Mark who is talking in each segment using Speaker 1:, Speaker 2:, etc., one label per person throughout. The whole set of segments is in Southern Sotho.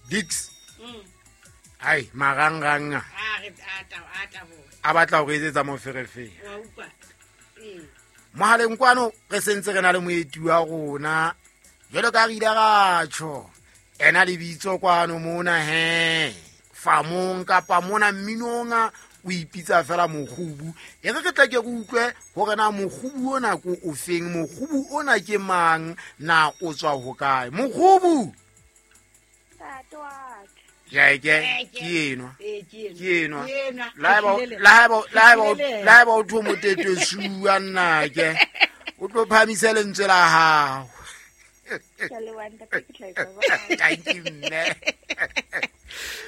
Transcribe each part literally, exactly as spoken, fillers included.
Speaker 1: Dix ai marangrang
Speaker 2: a re a ta a ta bo
Speaker 1: a batla go etsetsa moferefere
Speaker 2: wa utlwa ee
Speaker 1: mohaleng kwano re sentse re na le moeti wa rona jwalo ka re ile ra tjho ena lebitso kwano mona he famong kapa mona mminonga o ipitsa fela Mokgubu e re ke tla ke go utlwe hore na Mokgubu ona ko o feng Mokgubu ona ke mang na o tswa ho kae Mokgubu
Speaker 3: Ntate wa ka.
Speaker 1: Jeke ke enwa
Speaker 2: ee ke
Speaker 1: ke enwa
Speaker 2: Ke enwa.
Speaker 1: la eba la eba la eba la eba o tho motete sua nna ke o tlo phamise lentswe la hao
Speaker 3: Ke a leboha ntate, ke tla etsa jwalo.
Speaker 1: Thank you mme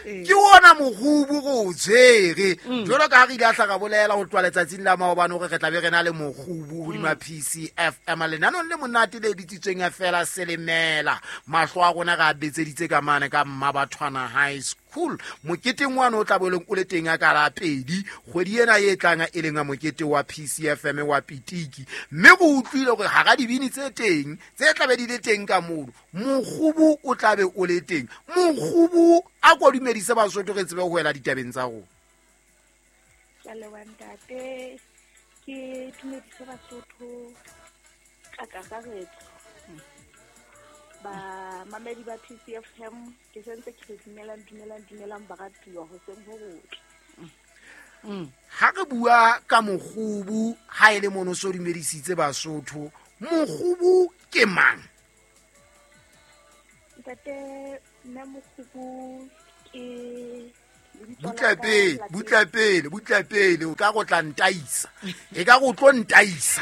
Speaker 1: ke ona Mokgubu go o tshwere jwalo ka ha re ile a hla ka bolela ho tloha letsatsing la maobane hore re tla be re na le Mokgubu hodima P C F M lenanong le monate le bitsitsweng fela Selemela mahlo a rona re a betseditse ka mane ka Mmabathwana High School moketeng wa no tla bo leng o le teng ka la pedi kgwedi ena e tlang e leng a mokete wa P C F M wa Pitiki mme go utlwile hore hara dibini tse teng tse tla be di le teng ka mono Mokgubu o tla be o le teng Mokgubu a ko dumedise Basotho re tsebe ho wela ditabeng tsa rona.
Speaker 3: Ke a leboha ntate, ke dumedise Basotho ka kakaretso. Bamamedi ba P C F M ke sentse ke re dumelang, dumelang, dumelang baratuwa hoseng ho hotle.
Speaker 1: Ha re bua ka Mokgubu ha e le mono so dumedisitse Basotho Mokgubu ke mang?
Speaker 3: Ntate, nna Mokgubu ke lebitso la
Speaker 1: Butla
Speaker 3: ka
Speaker 1: pele,
Speaker 3: lapeng.
Speaker 1: butla pele, butla pele, o ka go tla ntaisa. E ka go tlo ntaisa.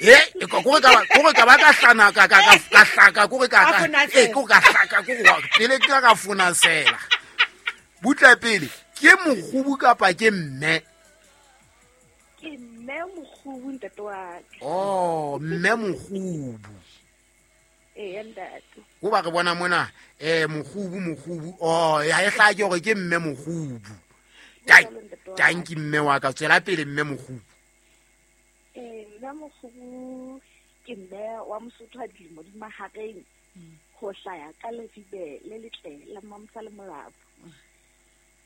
Speaker 1: E, e ka gore ka ba, gore ka ba ka hlana ka, ka, ka, ka hlaka, gore ka,
Speaker 2: Ka
Speaker 1: ka,
Speaker 2: fonasela.
Speaker 1: e, gore ka hlaka, gore wa, pele ke ka fonasela. Butla pele, ke Mokgubu kapa ke mme?
Speaker 3: Ke mme Mokgubu ntate wa ka.
Speaker 1: Oh, mme Mokgubu.
Speaker 3: Ee, ntate.
Speaker 1: Ho ba re bona mona, eh, Mokgubu, Mokgubu. Oh, ha e hlake hore ke mme Mokgubu.
Speaker 3: Jwalo, ntate wa ka.
Speaker 1: Tanki mme wa ka, tswela pele mme Mokgubu.
Speaker 3: Eh, mme Mokgubu ke mme wa Mosotho a dilemo di mahareng ho hlaya ka Leribe le letle la Mamsa le Molapo.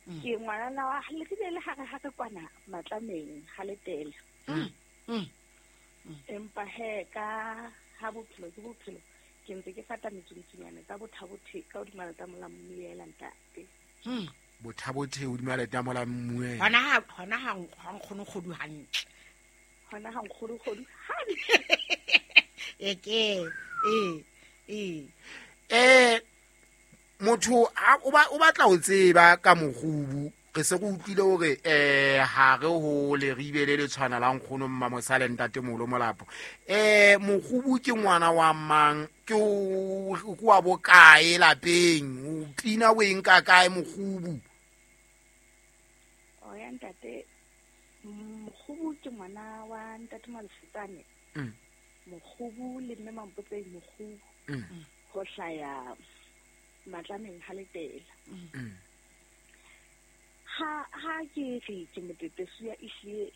Speaker 3: Ke ngwanana wa Leribe le hare hare kwana Matlameng ha Letele.
Speaker 2: Mm.
Speaker 3: Empa he ka ha bophelo ke bophelo ke ntse ke fata metsuntsunyane tsa bothabothe ka hodima letamo la Mmuela ntate.
Speaker 2: Mm.
Speaker 1: Bothabothe hodima letamo la Mmuela.
Speaker 2: Hona ha, hona ha ha nkgono kgodu hantle.
Speaker 3: Hona ha nkgono kgodu hantle.
Speaker 2: E ke, e, e.
Speaker 1: Eh, motho ha o ba, o batla ho tseba ka Mokgubu re se re utlwile hore, eh, ha re ho Leribe le le tshwana la nkgono Mmamosale ntate Molo Molapo. Eh, Mokgubu ke ngwana wa mang? Ke o, ke wa bokae lapeng? O pina o eng ka kae Mokgubu?
Speaker 3: O ya ntate, Mokgubu ke ngwana wa ntate Malefetsane.
Speaker 1: Mm.
Speaker 3: Mokgubu le mme Mampotseng Mokgubu.
Speaker 1: Mm.
Speaker 3: Ho hlaya Matlameng ha Letela.
Speaker 1: Mm.
Speaker 3: Ha, ha ke re ke motetesuya ehlile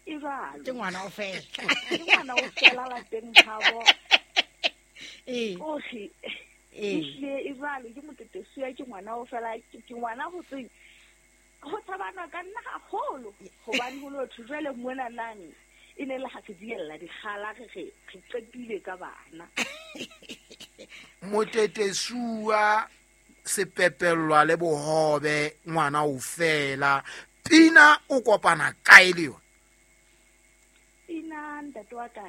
Speaker 3: e jwalo.
Speaker 2: Ke ngwana o fela.
Speaker 3: Ke ngwana o fela lapeng habo.
Speaker 2: Ee.
Speaker 3: O re,
Speaker 2: Ee.
Speaker 3: ehlile e jwalo, ke motetesuya, ke ngwana o fela, ke, ke ngwana ho tseng. Ho tshabana ka nna haholo, hobane ho lo thwe jwale mona nang, e ne le ha re diella dikgala, re re, re qetile ka bana.
Speaker 1: Motetesuwa sepepellwa le bohobe ngwana o fela pina o kopana kae le yona?
Speaker 3: Pina ntate wa ka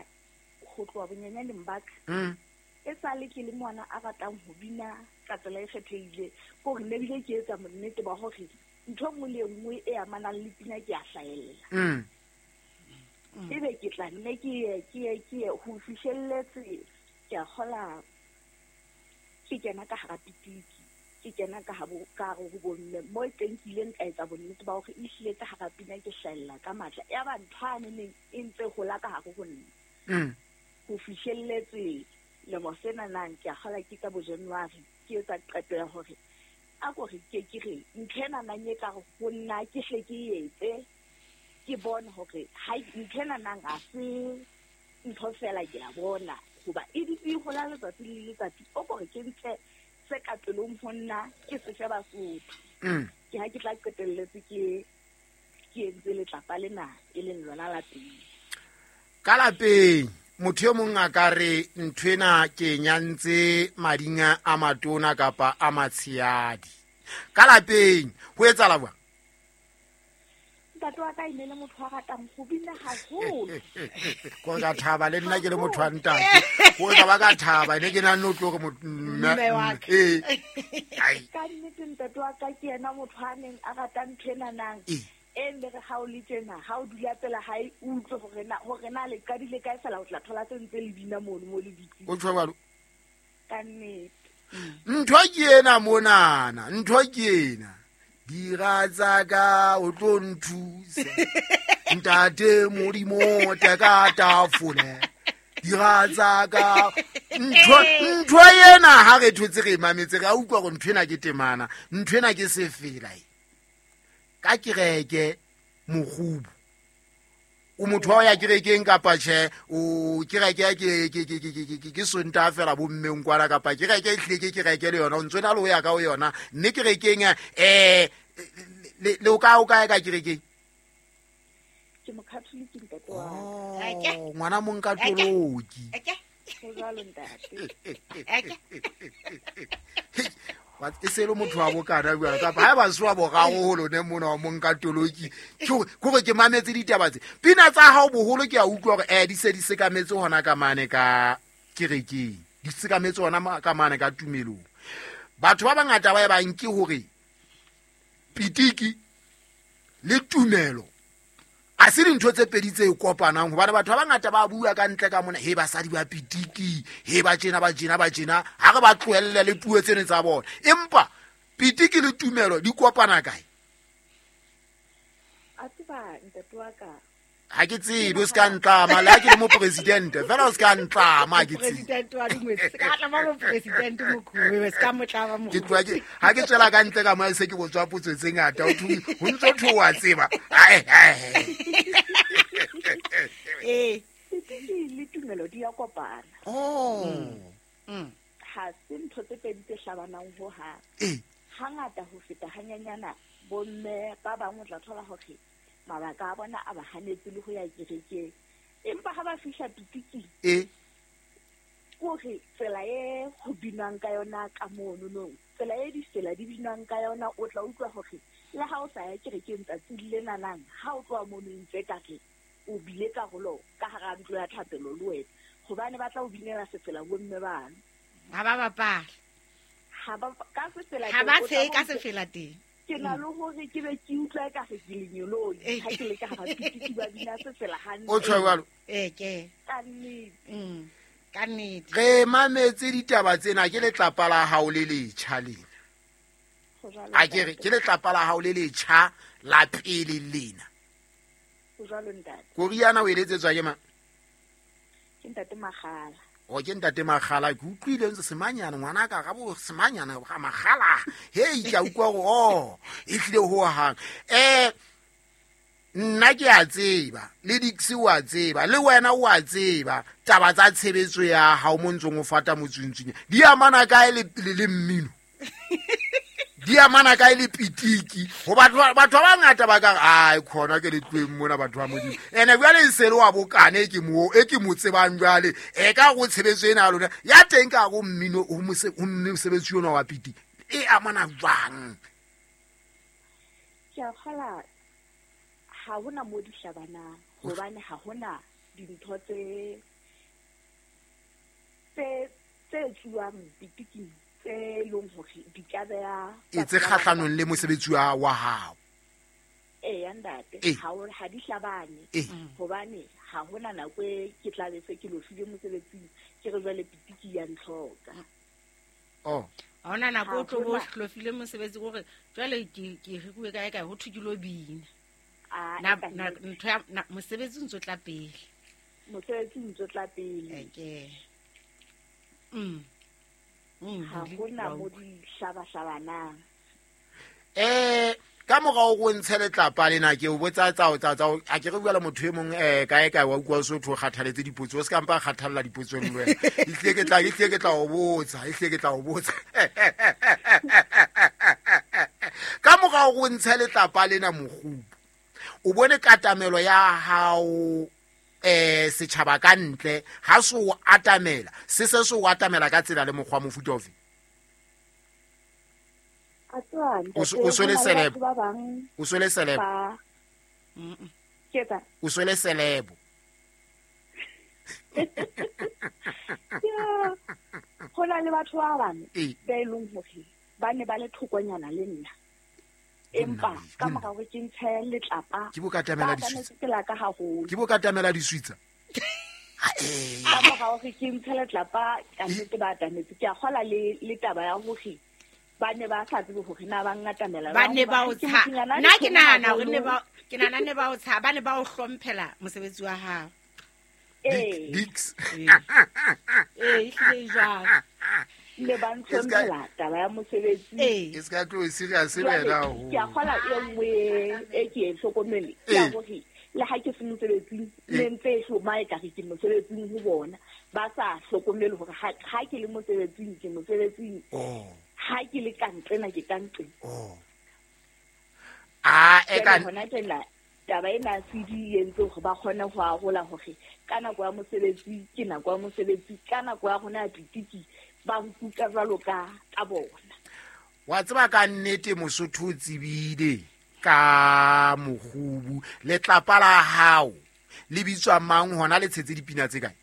Speaker 3: ho tloha bonyenyaneng ba ka.
Speaker 1: Mm.
Speaker 3: E sale ke le ngwana a ratang ho bina ka tsela e kgethehileng, ke hore ne bile ke etsa bonnete ba hore ntho e nngwe le e nngwe e amanang le pina ke a hlahella.
Speaker 1: Mm.
Speaker 3: Ebe ke tla nne ke ye, ke ye, ke ye ho fihlelletse, ke a kgola ke kena ka hara pitiki, ke kena ka habo, ka hare ho bomme, moo teng ke ileng ka etsa bonnete ba hore ehlile ka hara pina ke hlahella ka matla. Ya ba ntho yane neng e ntse hola ka hare ho nna.
Speaker 1: Mm.
Speaker 3: Ho fihlelletse lemo sena nang ke a kgola ke ka bo January, ke etsa qeto ya hore a ko re ke ke re ntho ena nang e ka re ho nna ke hle ke etse, ke bone hore ha ntho ena nang ha se ntho fela ke a bona hoba e dutse e hola letsatsi le letsatsi, o ko re ke ntshe se ka pelong ho nna ke sefe Basotho.
Speaker 1: Mm.
Speaker 3: Ke ha ke tla qetelletse ke ke entse letlapa lena e leng lona la pele.
Speaker 1: Ka lapeng motho e mong a ka re nthwena ke nyantse madinga a matona kapa a matshehadi. Ka lapeng ho etsahala jwang?
Speaker 3: Ntate wa ka e ne le motho a ratang ho bina haholo.
Speaker 1: Ko ka thaba le nna ke le motho wa ntate. Ko ka ba ka thaba ne ke na no tlo re
Speaker 2: mme wa ka.
Speaker 1: Eh. Ai.
Speaker 3: Ka nnete ntate wa ka ke yena motho a neng a rata ntho ena nang. E nne re ha o le tjena, ha o dula pela hae o utlwe hore na hore na le qadile kae fela o tla thola tse ntse le bina mono mo le dutseng.
Speaker 1: O tjho jwalo?
Speaker 3: Ka nnete.
Speaker 1: Ntho ke ena monana, ntho ke ena. Dira tsa ka o tlo nthusa. Ntate Modimo teka tafole. Dira tsa ka ntho ntho ena ha re thotse re mametse re a utlwa hore ntho ena ke temana, ntho ena ke sefela. Ka kereke mokgubu. O motho wa ya kerekeng kapa tjhe, o kereke ke ke ke ke ke ke Sontaha fela bo mmeng kwana kapa kereke e hlile ke kereke le yona o ntse na le ho ya ka ho yona mme kerekeng eh le le o ka o kae ka kerekeng?
Speaker 3: Ke mokatholiki ntate wa
Speaker 1: ka. Ngwana mong ka toloki.
Speaker 3: Ho jwalo ntate.
Speaker 1: Wa e se le motho wa bokana bua kapa ha ba swa boraro ho lone mona wa monka toloki ke hore ke mametse ditaba tse pina tsa hao boholo ke a utlwa hore eh di se di sekametse hona ka mane ka kerekeng di sekametse hona ka mane ka tumelong. Batho ba bangata ba e bang ke hore pitiki le tumelo a se dintho tse pedi tse kopanang hobane batho ba bangata ba bua ka ntle ka mona he basadi ba pitiki he ba tjena ba tjena ba tjena ha re ba tlohelle le puo tsene tsa bona empa pitiki le tumelo di kopana kae?
Speaker 3: A tseba ntate wa ka
Speaker 1: ha ke tsebe o ska ntlama le ha ke le mo president fela o ska ntlama ha ke tsebe
Speaker 2: president wa dingwetsi se ka tlama mo president mokhuwe se ka motlama mo
Speaker 1: ke tloa ke ha ke tswela ka ntle ka mo se ke botswa potso tse ngata o thu ho ntso thoa tseba ai ai
Speaker 2: eh
Speaker 3: pitiki le tumelo di ya kopana.
Speaker 1: Oh.
Speaker 2: Mm.
Speaker 3: Ha se ntho tse pedi tse hlabanang ho ha.
Speaker 1: Eh.
Speaker 3: Hangata ho feta hanyanyana bomme ba bang o tla thola hore mabaka a bona a ba hanetse le ho ya kerekeng empa ha ba fihla pitiking
Speaker 1: eh
Speaker 3: hore tsela e ho binang ka yona ka mono no tsela e ditsela di binang ka yona o tla utlwa hore le ha o sa ya kerekeng tsatsi le nanang ha o tloha mono ntse ka re o bile karolo ka hara ntlo ya thapelo le wena hobane ba tla o binela sefela bomme bana
Speaker 2: ha ba bapala
Speaker 3: ha ba ka sefela
Speaker 2: ha ba tshe ka sefela teng.
Speaker 3: Ke na le hore ke be ke utlwa ka re ke lenyoloi ha ke le ka hara pitiki ba bina sefela hantle.
Speaker 1: O tjho jwalo?
Speaker 2: Eh ke
Speaker 3: ka nnete.
Speaker 2: Mm. Ka nnete.
Speaker 1: Re mametse ditaba tsena ke letlapa la hao le letjha lena. A ke re ke letlapa la hao le letjha la pele lena.
Speaker 3: Ho jwalo ntate.
Speaker 1: Koriana o eletsetswa ke mang?
Speaker 3: Ke ntate Makgala.
Speaker 1: O ke ntate Makgala ke utlwile ntse semanyana ngwana ka ga bo semanyana ga Makgala hei ke a utlwa gore oh e tlile ho hang eh nna ke a tseba le Dixie wa tseba le wena o a tseba taba tsa tshebetso ya hao mo ntsong o fata motswintswing di amana kae le le mmino di amana kae le pitiki ho batho batho ba bangata ba ka ai khona ke le tloeng mona batho ba Modimo ene jwale e se le wa bokane ke mo e ke mo tsebang jwale e ka go tshebetso ena ya lona ya teng ka go mmino ho mosebetsi ona wa pitiki e amana jwang?
Speaker 3: Ke a kgola ha hona mo di hlabanang hobane ha hona dintho tse tse tse tsuwang pitiking tse leng hore di ka beha
Speaker 1: e tse kgahlanong le mosebetsi wa wa hao.
Speaker 3: Eh ya ntate ha o ha di hlabane hobane ha hona nako e ke tla be se ke lo file mosebetsing ke re jwale pitiki ya ntlhoka.
Speaker 1: Oh
Speaker 2: ha hona nako o tlo bo hlofile mosebetsi hore jwale ke ke rekuwe kae kae ho thwe ke lo bina. Na ntho ya mosebetsi ntso tla pele.
Speaker 3: Mosebetsi ntso tla pele.
Speaker 2: Okay. Mm.
Speaker 3: Ha hona mo di hlabahlabanang.
Speaker 1: Eh ka morao go ntshe letlapa lena ke o botsa tsa tsa tsa a ke re bua le motho e mong eh kae kae wa utlwa Sotho kgathaletse dipotso o se ka mpa kgathalla dipotso le wena e tle ke tla e tle ke tla o botsa e tle ke tla o botsa mora hore o ntshe letlapa lena mokgubu o bone katamelo ya hao eh setjhaba ka ntle ha se o atamela se se se o atamela ka tsela le mokgwa mofuta ofe o swele celeb o swele celeb o swele celeb
Speaker 3: go na le batho ba bang ba e leng hore ba ne ba le thokonyana le nna empa ka mora hore ke ntshe letlapa
Speaker 1: ke bo katamela diswitsa ke bo katamela diswitsa
Speaker 3: ka mora hore ke ntshe letlapa ka nnete ba atametse ke a kgola le le taba ya hore ba ne ba sa tsebe hore na ba ngatamela
Speaker 2: ba ne ba o tsha nna ke nahana hore ne ba ke nahana ne ba o tsha ba ne ba o hlomphela mosebetsi wa hao
Speaker 3: eh
Speaker 1: Dix
Speaker 2: eh ehlile jwang
Speaker 3: le ba ntlhompela taba ya mosebetsi
Speaker 1: e ska tlo serious wena ho
Speaker 3: ke a kgola e nngwe e ke e hlokomele ya hore le ha ke se mosebetsing le ntse e hloma e ka re ke mosebetsing ho bona ba sa hlokomele hore ha ke le mosebetsing ke mosebetsing ha ke le ka ntlena ke ka ntleng
Speaker 1: oh a e ka
Speaker 3: hona tjena taba ena C D e entse hore ba kgone ho arola hore ka nako ya mosebetsi ke nako ya mosebetsi ka nako ya rona ya pitiki ba nkuka jwalo ka ka bona
Speaker 1: wa tseba ka nnete Mosotho o tsebile ka mokgubu letlapa la hao le bitswa mang hona le tshetse dipina tse kae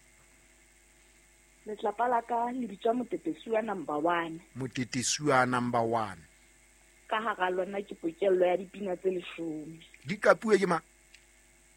Speaker 3: letlapa la ka le bitswa Motetesuwa number one
Speaker 1: Motetesuwa number one
Speaker 3: ka hara lona ke pokello ya dipina tse leshome
Speaker 1: di kapuwe ke mang